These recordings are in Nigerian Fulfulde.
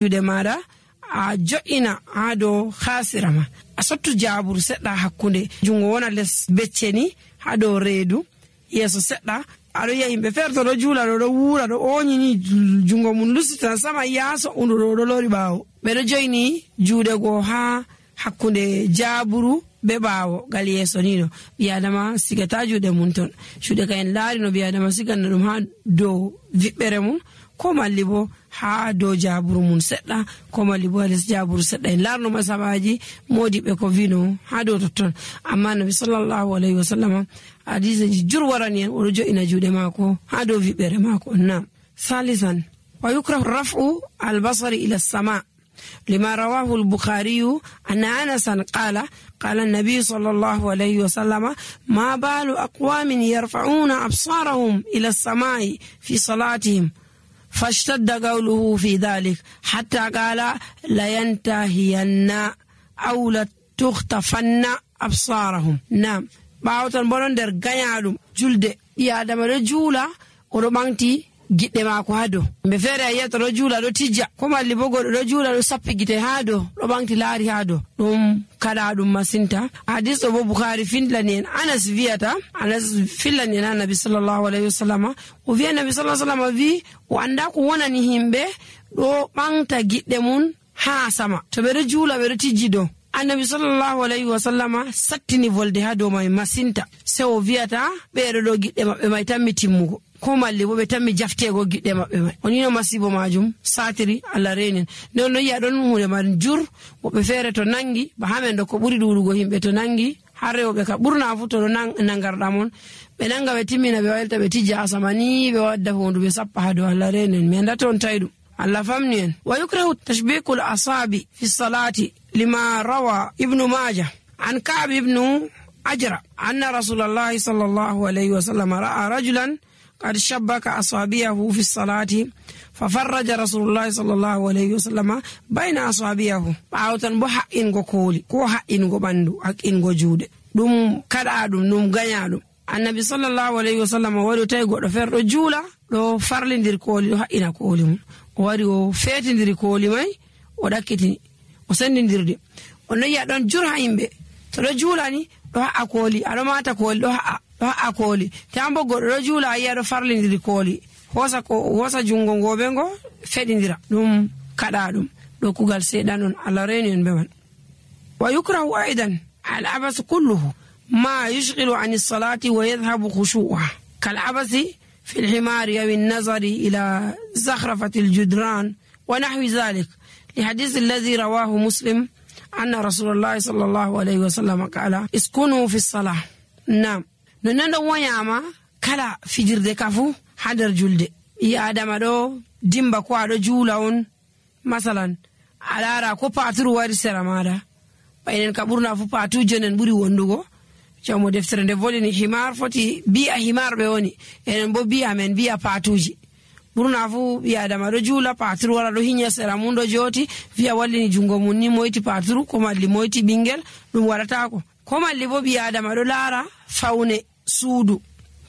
juude maɗa a jo'ina ha dow hasira ma, a sottu jaburu seɗɗa hakkunde jungo wona les becce ni ha dow reedu yeso seɗɗa. aɗo yi'a yimɓe feere to ɗo juula ɗo wuura ɗo oñini jungo mum lusitan sama yaaso undu ɗo lori ɓaawo. ɓeɗo joyni juuɗe goo ha hakkunde jaburu be ɓaawo gal yeso ni ɗo. ɓiyadama sigata juuɗe mum ton. juuɗe ka en laari no ɓiyadama siganna ɗum ha dow viɓɓere mum, ko malli bo ha dow jaburu mum seɗɗa, ko malli bo ha les jaburu seɗɗa. en larno masabaji modiɓe ko vino ha dow totton. amma nabi sallallahu alayhi wa sallam hadiseji jur warani en oɗo jo'ina juuɗe maako ha dow viɓɓere maako. nam salisan wa yukrahu raf'u albasari ila sama lima rawahu al-bukhari anna anasan qala an-nabiy sallallahu alayhi wa sallam ma balu aqwamin yarfa'una absarahum ila as-sama'i fi salatihim فاشتد قوله في ذلك حتى قال لينتهين أو لتختفن أبصارهم. نعم باوتن بولون در غنيادum julde ɓi'adama ɗo juula oɗo ɓanti giɗɗe maako ha dow. mbe feere a yiyata ɗo juula ɗo tijja, ko malli bo goɗɗo ɗo juula ɗo sappi gite ha dow ɗo ɓanti laari ha dow. ɗum kaɗa ɗum masinta. hadis ɗo bo bukhari fillani en anas wiyata, anas fillani en ha nabi sallallahu alayhi wa sallam o wiya nabi sallallahu alayhi wa sallam wi o anda ko wonani himɓe ɗo ɓanta giɗɗe mum ha sama to ɓeɗo juula ɓeɗo tijji dow. annabi sallallahu alayhi wa sallama sattini volde ha dow mai masinta. se o wiyata ɓeɗo ɗo giɗɗe maɓɓe mai tammi timmugo, ko malli bo ɓe tammi jaftego giɗɗe maɓɓe mai. onino masibo majum satiri Allah renin. nden no yi'a ɗon hunde man jur. woɓɓe feere to nangi ba hamen ɗo ko ɓuri ɗuɗugo himɓe to nangi har rewɓe ka ɓurna fu to ɗo nangarɗa mon ɓe nanga ɓe timmina ɓe waylta ɓe tijja asama ni ɓe wadda hondu ɓe sappa ha dow. Allah renen mi andata on tawi ɗum. Allah famni en. wa yukrahu tashbikul asabi fi salati lima rawa ibnu majah an ka'b ibnu ajra anna rasulallahi sallallahu alayhi wa sallam ra'a rajulan qad shabbaka asabiyahu fi salati fafarraja rasulullahi sallallahu alayhi wa sallam bayna asabiyahu. ɓawtan bo haqqingo kooli ko haqqingo ɓandu, haqqingo juuɗe, ɗum kaɗa ɗum gaña ɗum. annabi sallallahu alayhi wa sallam waɗi tawi goɗɗo feere ɗo juula ɗo farlidir kooli ɗo haqqina kooli mum. o wari o feetidiri kooli mai o ɗakkitini o sendidirde. on yi'a ɗon jur ha yimɓe to ɗo juulani ɗo ha'a kooli, aɗo mata kooli ɗo ha'a kooli. tambo goɗɗo ɗo juula a yi'a ɗo farlidiri kooli, hosa jungo ngoɓe ngo feɗidira. ɗum kaɗa ɗum ɗo kugal seeɗan on. Allah reni en ɓe man. wa yukrahu aidan al abas kulluhu ma yushghilu an as-salati wa yadhhabu khushu'uha kal abasi في الحمار أو النظر إلى زخرفة الجدران ونحو ذلك لحديث الذي رواه مسلم أن رسول الله صلى الله عليه وسلم قال اسكنوا في الصلاة. نعم ننو وياما كلا في جرد كفو حدر جلد يا آدم دو ديمبا كو دو جولاون مثلا على را كو باترو واري سرمادا بين كبرنا فو باتو جنن بوري وندوغو jamo deftere nde volini himar foti bi'a himar ɓe woni enen bo bi'a men bi'a patuji. ɓurna fu ɓi adama ɗo juula paturu wara ɗo hiña sera mum ɗo joti wi'a wallini jungo mum ni moyti paturu ko malli moyti ɓingel ɗum waɗatako. ko malli bo ɓi adama ɗo laara fawne suudu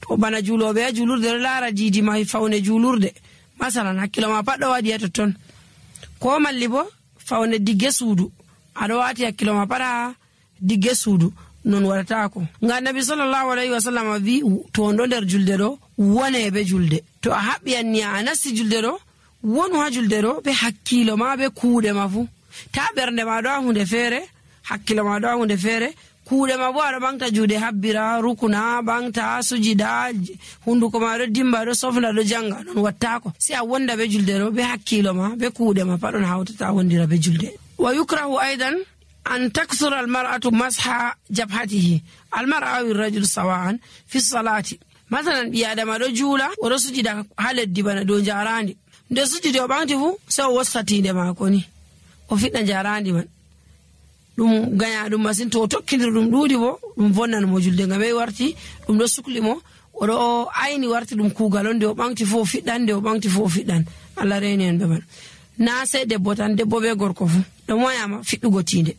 to bana juuloɓe ha juulurde ɗo laara didi ma fawne juulurde masalan hakkilo ma pat ɗo waɗi ha totton. ko malli bo fawne digge suudu aɗo wati hakkilo ma pat ha digge suudu non waɗatako. ngam nabi sallallahu alayhi wa sallam wi to on ɗo nder julde ɗo wone be julde. to a haɓɓiyanni a nasti julde ɗo wonu ha julde ɗo be hakkilo ma be kuuɗe ma fu. ta ɓernde ma ɗo ha hunde feere, hakkilo ma ɗo ha hunde feere, kuuɗe ma bo aɗo ɓamta juuɗe habbira rukuna ɓamta sujida hunduko ma ɗo dimba ɗo sofna ɗo janga. non wattako si a wonda be julde ɗo be hakkilo ma be kuuɗe ma pat on hawtata wondira be julde. wa yukrahu aidan أن تكثر المرأة مسح جبهته المرأة أو الرجل سواء في الصلاة. مثلا بيادم رجولا ورسجد حال الدبانة دون جاراندي nde sujudi o ɓamti fu sai o wossatinde maako ni o fiɗɗa jarandi man. ɗum gaña ɗum masin. to o tokkidir ɗum ɗuuɗi bo ɗum vonnan mo julde ngam warti ɗum ɗo sukli mo oɗo ayni warti ɗum kuugal on nde o ɓamti fu o fiɗɗan, nde o ɓamti fu o fiɗɗan. Allah reni en ɓe man. na sai debbo tan, debbo be gorko fu ɗum wayama fiɗɗugo tinde.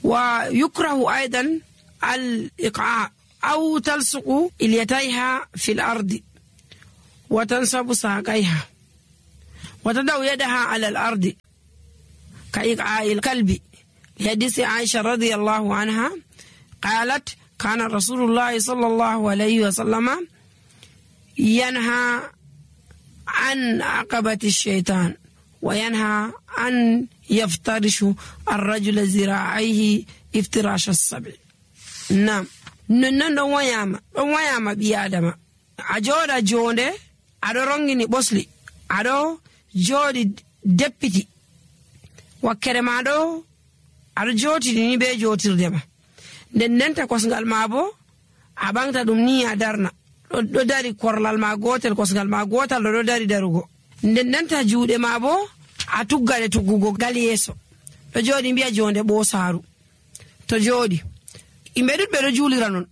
wa yukrahu aidan al iqa aw talsuqu ilyatayha fil ardi wa tansabu saqaiha وتضع يدها على الأرض كإيقاع الكلب، لحديث عائشة رضي الله عنها قالت كان رسول الله صلى الله عليه وسلم ينهى عن عقبة الشيطان وينهى أن يفترش الرجل ذراعيه افتراش السبع. نعم نن دون وياما بيادما أجودا جونde aɗo rongini ɓosli aɗo jooɗi deppiti wakkere ma ɗo aɗo jotini ni be jotirde ma nden ndenta kosngal ma bo a ɓangta ɗum ni a darna ɗo dari korlal ma gotel kosngal ma gotal ɗo dari darugo nden ndenta juuɗe ma bo a tuggade tuggugo gal yeeso ɗo jooɗi mbiya jonde ɓosaru to jooɗi yimɓe ɗuɗɓe ɗo juulira non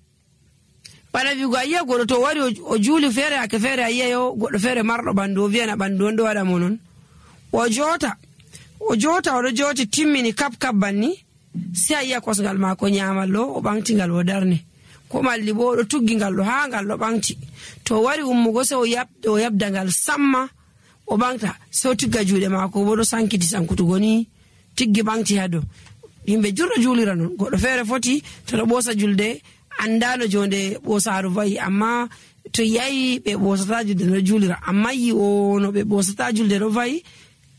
bana wigo a yiya goɗɗo to wari o juuli feere ake feere a yiyayo goɗɗo feere marɗo ɓandu o wiyana ɓandu on ɗo waɗa mo non o jota oɗo joti timmini kap banni si a yiya kosngal maako nyamal ɗo o ɓantingal o darne ko malli bo oɗo tuggingal ɗo ha ngal ɗo ɓanti to wari ummugo se o yabdangal samma o ɓanta se o tigga juuɗe maako bo ɗo sankiti sankutugo ni tiggi ɓanti ha dow yimɓe jurɗo juulira non goɗɗo feere foti to ɗo ɓoosa julde andano jonde ɓosaru vayi amma to yayi ɓe ɓosata julde no juulira amma yi o no ɓe ɓosata julde ɗo vayi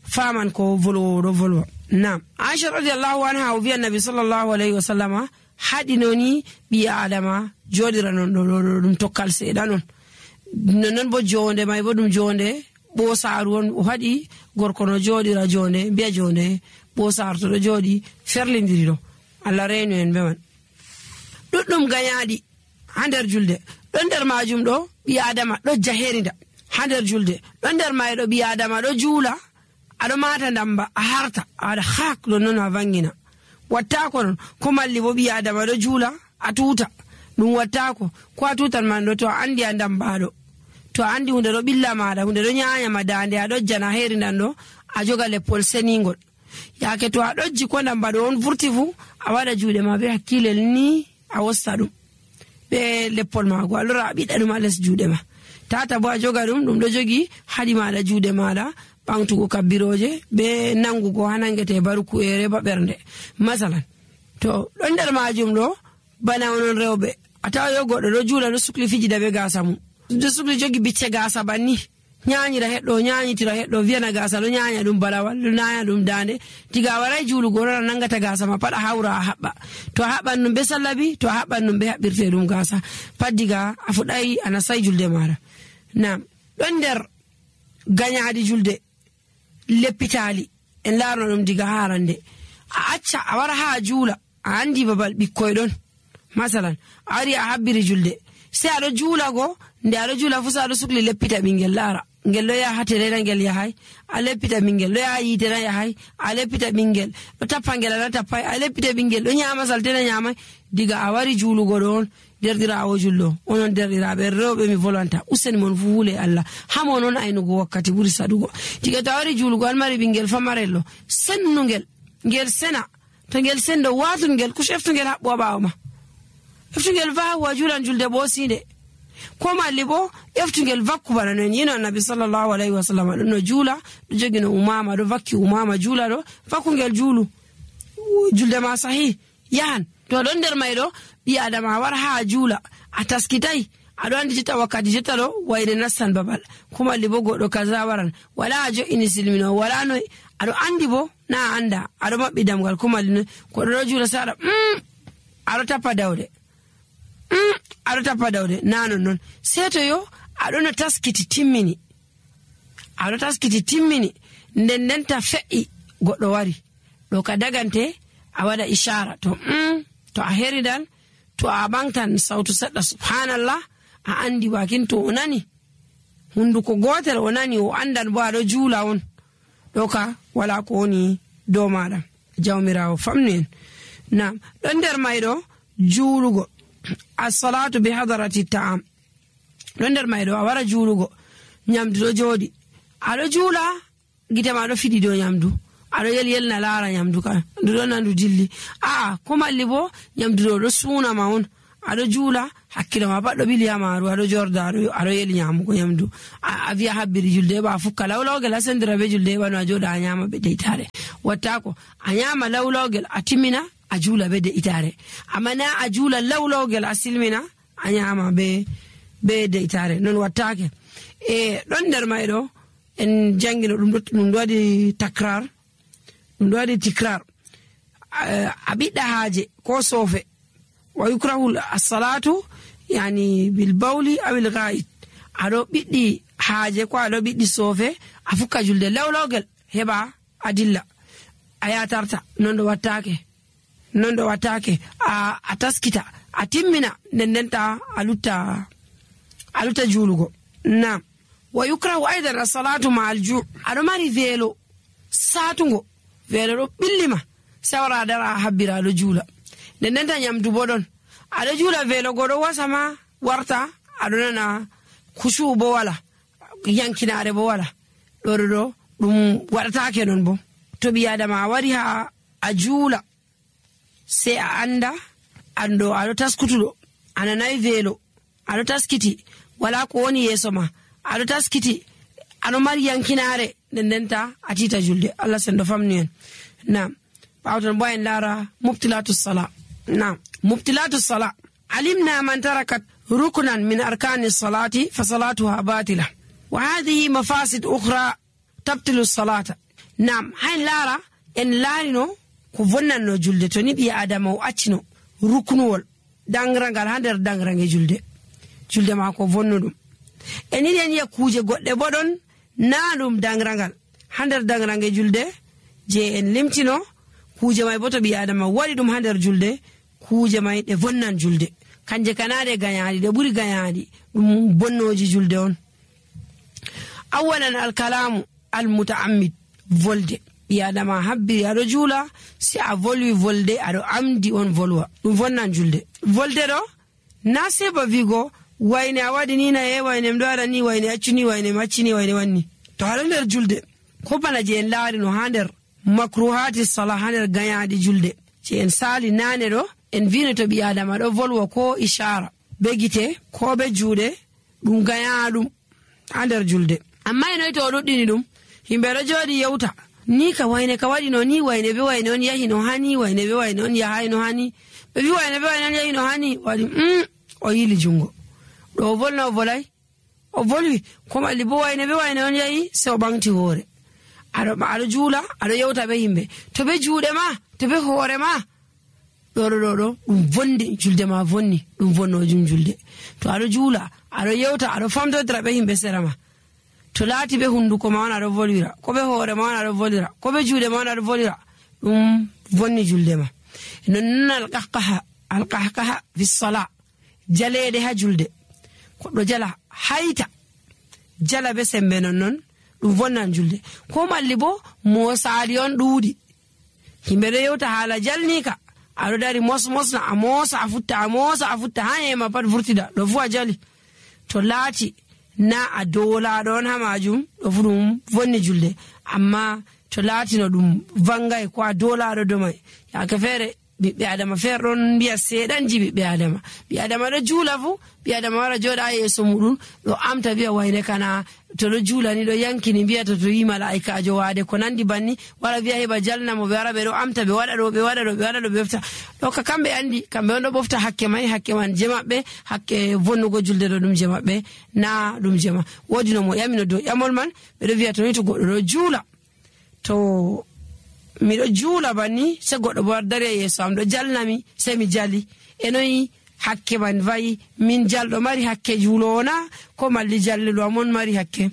faman ko volwowo ɗo volwa. Nam Aisha radiyallahu anha o wiya nabi sallallahu alayhi wa sallama haɗinoni ɓi adama joɗira non ɗo ɗum tokkal seeɗa non non bo jonde may bo ɗum jonde ɓosaru on o haɗi gorko no joɗira jonde mbiya jonde ɓosaru to ɗo joɗi ferlidiri ɗo Allah renu en ɓe man ɗuɗɗum gañaɗi ha nder julde ɗon nder majum ɗo ɓi adama ɗo jaherinda ha nder julde ɗon nder mayɗo ɓi adama ɗo juula aɗo mata ndamba a harta a waɗa haak ɗon noon a vangina wattako non ko malli bo ɓi adama ɗo juula a tuta ɗum wattako ko a tutan man ɗo to a andi a ndambaɗo to a andi hunde ɗo ɓilla maɗa hunde ɗo nyanyama dande a ɗojjana herindan ɗo a joga leppol senigol yake to a ɗojji ko ndambaɗo on vurti fu a waɗa juuɗe ma be hakkilel ni a wosta ɗum ɓe leppol mago a lora a ɓiɗa ɗum a les juuɗe ma tata bo a joga ɗum ɗo jogi haɗi maɗa juuɗe maɗa ɓamtugo kabbiroje be nangugo ha nangete baruku'ere ba ɓernde masalan to ɗon nder majum ɗo bana onon rewɓe a tawa yo goɗɗo ɗo juula ɗo sukli fijida be gasa mum ɗo sukli jogi bicce gasa banni nyanyira heɗɗo nyanyitira heɗɗo wiyana gasa ɗo nyanya ɗum balawal ɗo nanya ɗum dande tiga waray juulugo ɗon a nangata gasa ma pat a hawra a haɓɓa to a haɓɓan ɗum be sallabi to a haɓɓan ɗum be haɓɓirte ɗum gasa pat diga a fuɗɗay a nasay julde maɗa. Nam ɗon nder gañaɗi julde leppitali en larno ɗum diga harande a acca a wara ha juula a andi babal ɓikkoy ɗon masalan a wari a habbiri julde se aɗo juula go nde aɗo juula fu sa aɗo sukli leppita ɓingel lara ngel ɗo yaha terena ngel yahay a leppita ɓingel ɗo yaha yitena yahay a leppita ɓingel ɗo tappa ngel ana tappay a leppita ɓingel ɗo nyama saltena nyamay diga a wari juulugo ɗo on derɗirawo jullo onon derɗiraɓe rewɓe mi volanta useni mon fu huule Allah hamo noon aynugo wakkati ɓuri saɗugo diga to a wari juulugo an mari ɓingel famarello sennugel ngel sena to ngel sendo watungel kush eftungel haɓɓo a ɓawo ma eftungel vahu a juulan julde ɓosinde ko malli bo eftungel vakku bana non yino annabi sallallahu alayhi wa sallam ɗo no juula ɗo jogi no umama ɗo vakki umama juula ɗo vakkungel juulu julde ma sahi yahan to ɗon nder mayɗo ɓi adama war ha juula a taskitay aɗo andi jotta wakkati jotta ɗo wayde nastan babal ko malli bo goɗɗo kaza waran wala a jo'ini silmino wala noy aɗo andi bo na anda aɗo maɓɓi damgal ko malli noy goɗɗo ɗo juula saɗa aɗo tappa dawde aɗo tappa dawde na non sei to yo aɗo no taskiti timmini aɗo taskiti timmini nden ndenta fe'i goɗɗo wari ɗo ka dagante a waɗa ishara to a heridan to a ɓangtan sautu seɗɗa subhanallah a andi wakin to o nani hunduko gotel o nani o andan bo aɗo juula on ɗo ka wala ko woni dow maɗa jawmirawo famnu en. Nam ɗon nder mayɗo juulugo assalatu bi hadarati ta'am ɗon nder mayɗo a wara juulugo nyamdu ɗo jooɗi aɗo juula gite ma ɗo fiɗi dow nyamdu aɗo yelna laara nyamdu ka ndu ɗon nandu dilli ko malli bo nyamdu ɗo suuna ma on aɗo juula hakkilo ma pat ɗo ɓili ha maaru aɗo jorda aɗo yeli nyamugo nyamdu a wiya habbiri julde heɓa a fukka lawlawgel a sendira be julde heɓano a joɗa a nyama be de'itare. wattako a nyama lawlawgel a timmina a juula be de'itare, amma na a juula lawlawgel a silmina a nyama be de'itare. non wattake. ɗon nder mayɗo en jangino ɗum waɗi takrar, ɗum waɗi tikrar. a ɓiɗɗa haaje ko soofe wa yukrahu as-salatu yani bil bawli aw al ghaid. aɗo ɓiɗɗi haaje ko aɗo ɓiɗɗi soofe a fukka julde lawlawgel heɓa a dilla a yatarta. non ɗo wattake a taskita a timmina ndendenta a lutta juulugo. nam wa yukrahu aidan as-salatu ma al-ju'. aɗo mari veelo satugo, veelo ɗo ɓillima sawra dara habbira aɗo juula ndendenta nyamdu bo ɗon aɗo juula veelo goɗo wasama warta aɗo nana kushu bo wala, yankinare bo wala. ɗo ɗum waɗatake non. bo to ɓi adama a wari ha a juula sai a anda ando aɗo taskutuɗo a nanayi veelo aɗo taskiti wala ko woni yeeso ma aɗo taskiti aɗo mari yankinare ndendenta a tita julde. Allah sendo famni en. nam ɓawton bo en laara mubtilatu sala. nam mubtilatu sala alimna man tarakat ruknan min arkani salati fa salatuha batila wa hadhihi mafasid ukhra tabtilu salata. nam hayn laara en laarino ko vonnanno julde to ni ɓi adama o accino ruknuwol dangrangal ha nder dangrange julde ma ko vonno ɗum. en yiɗi en yiya kuuje goɗɗe bo ɗon na ɗum dangrangal ha nder dangrange julde je en limtino. kuuje may bo to ɓi adama waɗi ɗum ha nder julde kuuje may ɗe vonnan julde, kanje kanade gayaɗi ɗe ɓuri gayaɗi ɗum bonnoji julde on. awalan alkalamu almutaammid, volde. ɓi adama habbiri aɗo juula si a volwi volde aɗo amdi on volwa ɗum vonnan julde. volde ɗo na seba vigo wayne a waɗi ni na wayne mɗo waɗa ni wayne accuni wayne maccini wayne wanni. to aɗo nder julde ko bana je en laarino ha nder makruhati sala ha nder gayaɗi julde je en sali nane ɗo en vino to ɓi adama ɗo volwa ko ishara be gite ko be juuɗe ɗum gayaɗum ha nder julde. amma enoyi to o ɗuɗɗini ɗum himɓe ɗo jooɗi yewta ni ka wayne ka waɗino ni wayne be wayne on yahi no hani wayne be wayne on yahay no hani ɓe wi wayne be wayne on yahi no hani waɗi o yili jungo ɗo o volna o volay o volwi ko malli bo wayne be wayne on yahi se o ɓamti hoore. aɗo juula aɗo yewta be yimɓe to be juuɗe ma to be hoore ma ɗo ɗum vondi julde ma vonni ɗum vonnojum julde. to aɗo juula aɗo yewta aɗo famtodira be yimɓe sera ma to laati be hunduko ma on aɗo volwira ko be hoore ma on aɗo volwira ko be juuɗe ma on aɗo volwira ɗum vonni julde ma. nonnon alqahqaha fi sala, jaleede ha julde goɗɗo jala hayta jala be sembe nonnon ɗum vonnan julde. ko malli bo mosaali on ɗuuɗi himɓe ɗo yewta haala jalnika aɗo dari mosmosna a moosa a futta ha yema pat vurtida ɗo fu a jali. to laati na a dolaɗo on ha majum ɗo fu ɗum vonni julde. amma to laatino ɗum vangay ko a dolaɗo domay yake feere ɓiɓɓe adama feere ɗon mbiya seeɗanji ɓiɓɓe adama ɗo juula fu ɓi adama wara jooɗa ha yeeso muɗum ɗo amta wiya wayne kana to ɗo juulani ɗo yankini mbiyata to yi malaikajo waade ko nandi banni wara wiya heɓa jalnamo ɓe wara ɓe ɗo amta ɓe waɗa ɗo ɓe ɓofta ɗo ka kamɓe andi kamɓe on ɗo ɓofta hakke man je maɓɓe hakke vonnugo julde ɗo ɗum je maɓɓe na ɗum je ma. woodi no mo ƴamino dow ƴamol man ɓeɗo wiya to ni to goɗɗo ɗo juula to miɗo juula banni se goɗɗo bo dari e yeeso am ɗo jalnami se mi jali enoyi hakke man vayi min jalɗo mari hakke juulowo na ko malli jalliɗo amon mari hakke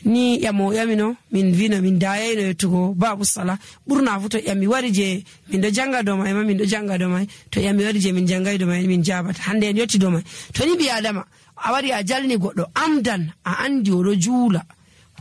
ni ƴamo ƴamino min vino min dayayno yettugo babu sala ɓurna fu to ƴami wari je min ɗo janga dow may ma min ɗo janga dow may to ƴami wari je min jangayi dow may min jabata hande en yetti dow may. to ni ɓi adama a wari a jalni goɗɗo amdan a andi oɗo juula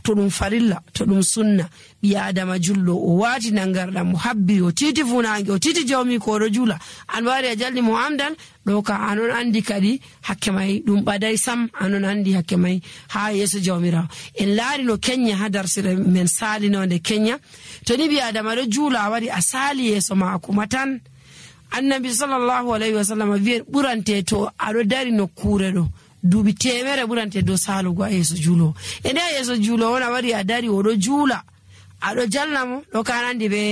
to ɗum farilla to ɗum sunna ɓi adama julɗo o waati nangarɗam mo habbi o titi funange o titi jawmi ko oɗo juula an wari a jalni mo amdan ɗo ka anon andi kadi hakke may ɗum ɓaday sam anon andi hakke may ha yeeso jawmirawo. en laari no kenya ha darsire men salinode kenya to ni ɓi adama ɗo juula a wari a sali yeeso maako matan annabi sallallahu alaihi wasallam wi'en ɓurante to aɗo dari nokkure ɗo duuɓi 100 ɓurante dow salugo a yeeso juulo e nde a yeeso juulo on a wari a dari oɗo juula aɗo jalna mo ɗo kanandi be